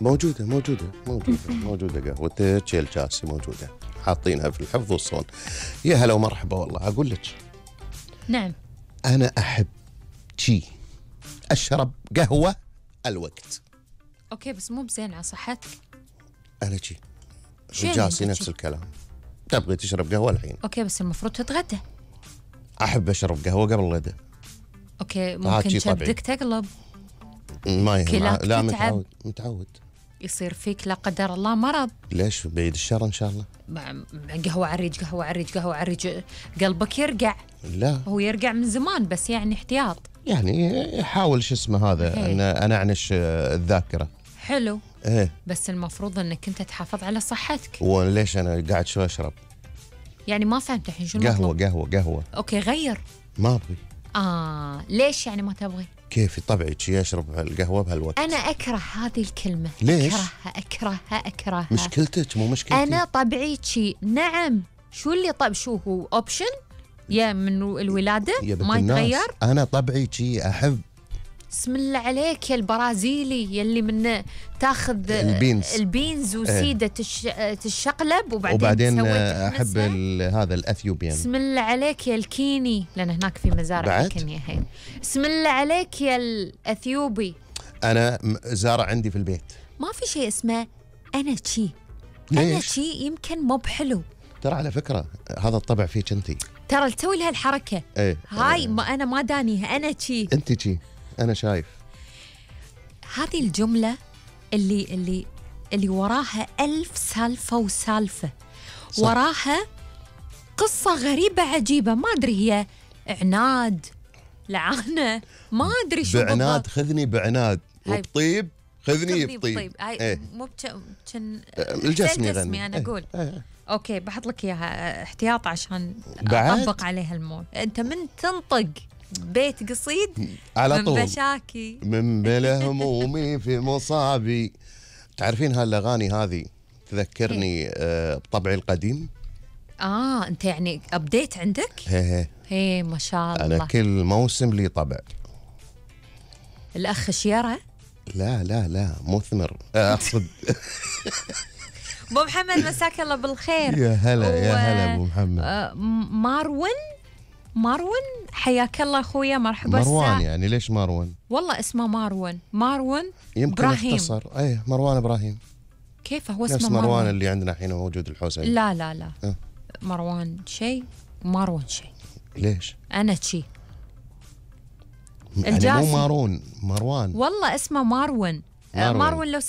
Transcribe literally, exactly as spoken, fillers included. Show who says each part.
Speaker 1: موجودة موجودة موجودة موجودة قهوتك يا الجاسي موجودة، حاطينها في الحفظ والصون. يا هلا ومرحبا. والله أقول لك
Speaker 2: نعم
Speaker 1: أنا أحب شي أشرب قهوة الوقت.
Speaker 2: اوكي بس مو بزين على صحتك.
Speaker 1: أنا شي
Speaker 2: شو يعني
Speaker 1: الجاسي
Speaker 2: أنت
Speaker 1: نفس
Speaker 2: شي؟
Speaker 1: الكلام. تبغي تشرب قهوة الحين؟
Speaker 2: اوكي بس المفروض تتغدى.
Speaker 1: أحب أشرب قهوة قبل الغداء.
Speaker 2: اوكي
Speaker 1: عاد
Speaker 2: ممكن
Speaker 1: شي طبيعي.
Speaker 2: كبدك تقلب،
Speaker 1: ما يهم.
Speaker 2: كلاك
Speaker 1: لا
Speaker 2: تتعب.
Speaker 1: متعود متعود.
Speaker 2: يصير فيك لا قدر الله مرض.
Speaker 1: ليش؟ بعيد الشر إن شاء الله.
Speaker 2: مع مع قهوة عريج قهوة عريج قهوة عريج قلبك يرقع.
Speaker 1: لا
Speaker 2: هو يرقع من زمان بس يعني احتياط.
Speaker 1: يعني حاول شو اسمه هذا
Speaker 2: هي.
Speaker 1: أن أنعنش الذاكرة.
Speaker 2: حلو
Speaker 1: إيه.
Speaker 2: بس المفروض انك انت تحافظ على صحتك.
Speaker 1: وليش أنا قاعد شو أشرب؟
Speaker 2: يعني ما فهمت الحين شو
Speaker 1: قهوة
Speaker 2: المطلوب.
Speaker 1: قهوة قهوة.
Speaker 2: اوكي غير.
Speaker 1: ما أبغي.
Speaker 2: اه ليش يعني ما تبغي؟
Speaker 1: كيف طبعي شي أشرب القهوة بهالوقت؟
Speaker 2: انا اكره هذه الكلمة.
Speaker 1: ليش؟
Speaker 2: اكرهها اكرهها اكرهها.
Speaker 1: مشكلتك مو مشكلتي.
Speaker 2: انا طبيعي شي. نعم شو اللي طب شو هو اوبشن يا من الولادة
Speaker 1: يا بنت
Speaker 2: ما
Speaker 1: الناس،
Speaker 2: يتغير.
Speaker 1: أنا طبعي شي أحب
Speaker 2: بسم الله عليك يا البرازيلي يلي من تاخذ
Speaker 1: البينز.
Speaker 2: البينز وسيدة تش... تشقلب وبعدين,
Speaker 1: وبعدين
Speaker 2: تسوي
Speaker 1: أحب
Speaker 2: تحمسها.
Speaker 1: ال- هذا الأثيوبيان.
Speaker 2: بسم الله عليك يا الكيني لأن هناك في مزارع
Speaker 1: بعد؟
Speaker 2: الكينيا هي. بسم الله عليك يا الأثيوبي.
Speaker 1: أنا م- زارع عندي في البيت.
Speaker 2: ما في شيء اسمه أنا شي. أنا
Speaker 1: ليش؟
Speaker 2: شي يمكن مو بحلو.
Speaker 1: ترى على فكرة هذا الطبع فيك أنتي.
Speaker 2: ترى تسوي لها الحركة
Speaker 1: إيه.
Speaker 2: هاي ما أنا ما دانيها أنا شي.
Speaker 1: أنتي شي أنا شايف.
Speaker 2: هذه الجملة اللي اللي اللي وراها ألف سالفة وسالفة.
Speaker 1: صح.
Speaker 2: وراها قصة غريبة عجيبة ما أدري هي عناد لعنة ما أدري شو
Speaker 1: بعناد
Speaker 2: بالضبط.
Speaker 1: خذني بعناد
Speaker 2: هاي.
Speaker 1: وبطيب خذني
Speaker 2: خذني
Speaker 1: بطيب.
Speaker 2: بطيب. هاي
Speaker 1: إيه.
Speaker 2: مو بتش... كن
Speaker 1: الجسم
Speaker 2: سيل
Speaker 1: يغني.
Speaker 2: أنا
Speaker 1: إيه.
Speaker 2: أقول
Speaker 1: إيه.
Speaker 2: أوكي بحط لك إياها احتياط عشان
Speaker 1: بعد؟
Speaker 2: أطبق عليها المول. أنت من تنطق بيت قصيد
Speaker 1: على
Speaker 2: من
Speaker 1: طول
Speaker 2: بشاكي
Speaker 1: من بلا همومي في مصابي. تعرفين هالأغاني هذه تذكرني آه بطبعي القديم.
Speaker 2: آه أنت يعني أبديت عندك؟
Speaker 1: هي هي.
Speaker 2: هي ما شاء الله.
Speaker 1: أنا كل موسم لي طبع.
Speaker 2: الأخ شيرة.
Speaker 1: لا لا لا مثمر أقصد.
Speaker 2: أبو محمد مساك الله بالخير.
Speaker 1: يا هلا يا
Speaker 2: و-
Speaker 1: هلا أبو محمد.
Speaker 2: آه، م- ماروين ماروين حياك الله أخويا مرحبا.
Speaker 1: مروان
Speaker 2: الساعة.
Speaker 1: يعني ليش مروان؟
Speaker 2: والله اسمه ماروين ماروين
Speaker 1: يمكن
Speaker 2: إبراهيم.
Speaker 1: اختصر. ايه مروان ابراهيم.
Speaker 2: كيف هو
Speaker 1: نفس
Speaker 2: اسمه
Speaker 1: مروان
Speaker 2: ماروين؟
Speaker 1: اللي عندنا الحين موجود الحسين.
Speaker 2: لا لا لا
Speaker 1: أه.
Speaker 2: مروان شيء ماروين شيء.
Speaker 1: ليش؟
Speaker 2: أنا شي
Speaker 1: يعني
Speaker 2: الجاسي.
Speaker 1: مو مارون مروان.
Speaker 2: والله اسمه ماروين. آه،
Speaker 1: ماروين.
Speaker 2: ماروين لو سمحت